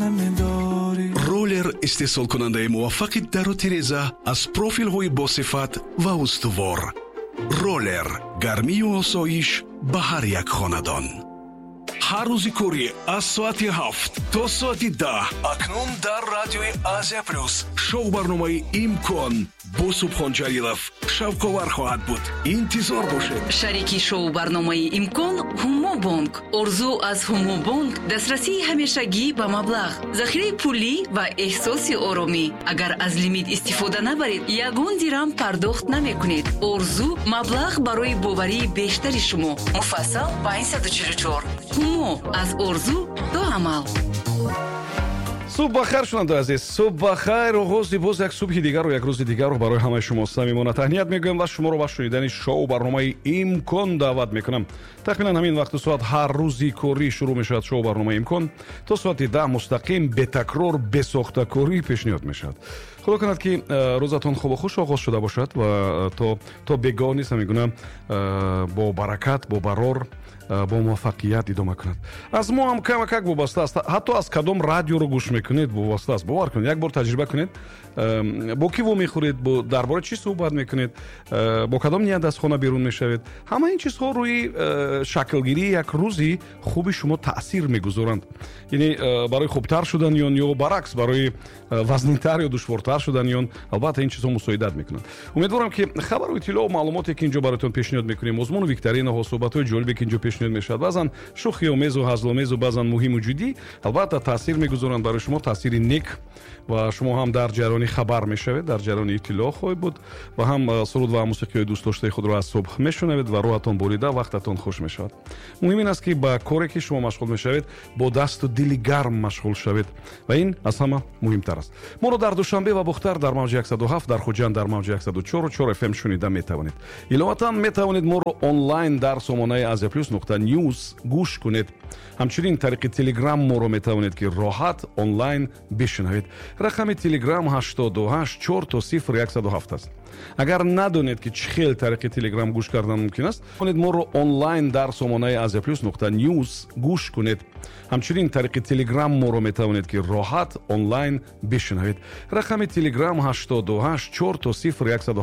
Намедорӣ. Ролер, истеҳсолкунандаи муваффақи дару тиреза аз профилҳои босифат ва устувор. Ролер, гармию осоиш ба ҳар як хонадон. Ҳар рӯзи корӣ аз соати 7 то соати 10 акнун дар радиои Азия Плюс шоу барномаи «Имкон» бо Субҳон Ҷалилов шавқовар хоҳад буд. Интизор бошед. Шарики шоу-барномаи «Имкон» Ҳумобонк. Орзу аз Ҳумобонк: дастрасии ҳамешагӣ ба маблағ, захираи пулӣ ва эҳсоси оромӣ. Агар аз лимит истифода набаред, ягон дирам пардохт намекунед. Орзу: маблағ барои боварии бештари шумо. Муфассал 544. Ҳумо: аз орзу то амал. Субҳ бахайр, шунавандаи азиз, субҳ бахайр. Оғози боз як субҳи дигару як рӯзи дигарро барои ҳамаи шумо самимона таҳният мегӯям ва шуморо ба шунидани шоу барномаи «Имкон» даъват мекунам. Тахминан ҳамин вақту соат ҳар рӯзи корӣ шурӯъ мешавад шоу барномаи «Имкон», то соати 10 мустақим, бетакрор, бесохтакорӣ пешниҳод мешавад. Худо кунад, ки рӯзатон хубу хуш оғоз шуда бошад ва то бегоҳ низ ҳамин гуна бо баракат, бо барор, бо муваффақият идома кунад. Аз мо ҳам камакак вобаста аст, ҳатто аз кадом радиоро гӯш мекунед вобаста аст. Бовар кунед, як бор таҷриба кунед: бо кӣ вомехӯред, дар бораи чӣ суҳбат мекунед, бо кадом ният аз хона берун мешавед, ҳама ин чизҳо рӯи шаклгирии як рӯзи хуби шумо таъсир мегузоранд, яъне барои хубтар шудани он ё баръакс барои вазнинтар ё душвортар шудани он, албатта, ин чизҳо мусоидат мекунанд. Умедворам, ки хабару иттилоъу маълумоте, ки инҷо бароятон пешниҳод мекунем, озмуну викторинаҳо, суҳбатҳои ҷолибе, ки инҷо пешниҳод мешавад, баъзан шӯхиомезу ҳазломезу, баъзан муҳиму ҷиддӣ, албатта, таъсир мегузоранд барои шумо, таъсири нек, ва шумо ҳам дар ҷараёни хабар мешавед, дар ҷараёни иттилоъ хоҳед буд ва ҳам суруд ва мусиқиҳои дӯстдоштаи худро аз субҳ мешунавед ва рӯҳатон бурида, вақтатон хуш мешавад. Муҳим ин аст, ки ба коре, ки шумо машғул мешавед, бо дасту дили гарм машғул шавед ва ин аз ҳама муҳимтар аст. Моро дар Душанбе ва Бухтар дар мавҷи 107, дар Хуҷанд дар мавҷи 104,4 FM шунида метавонед. Иловатан, метавонед моро онлайн дар сомонаи asiaplus.news гӯш кунед. Ҳамчунин тариқи Телеграм моро метавонед, ки роҳат онлайн бишунавед. Рақами Телеграм 88 000 107 аст. Агар надонед, ки чӣ хел тариқи Телеграм гӯш кардан мумкин аст, метавонед моро онлайн дар сомонаи asiaplus.news гӯш кунед. Ҳамчунин тариқи Телеграм моро метавонед, ки роҳат онлайн бишунавед. Рақами Телеграм 88 000.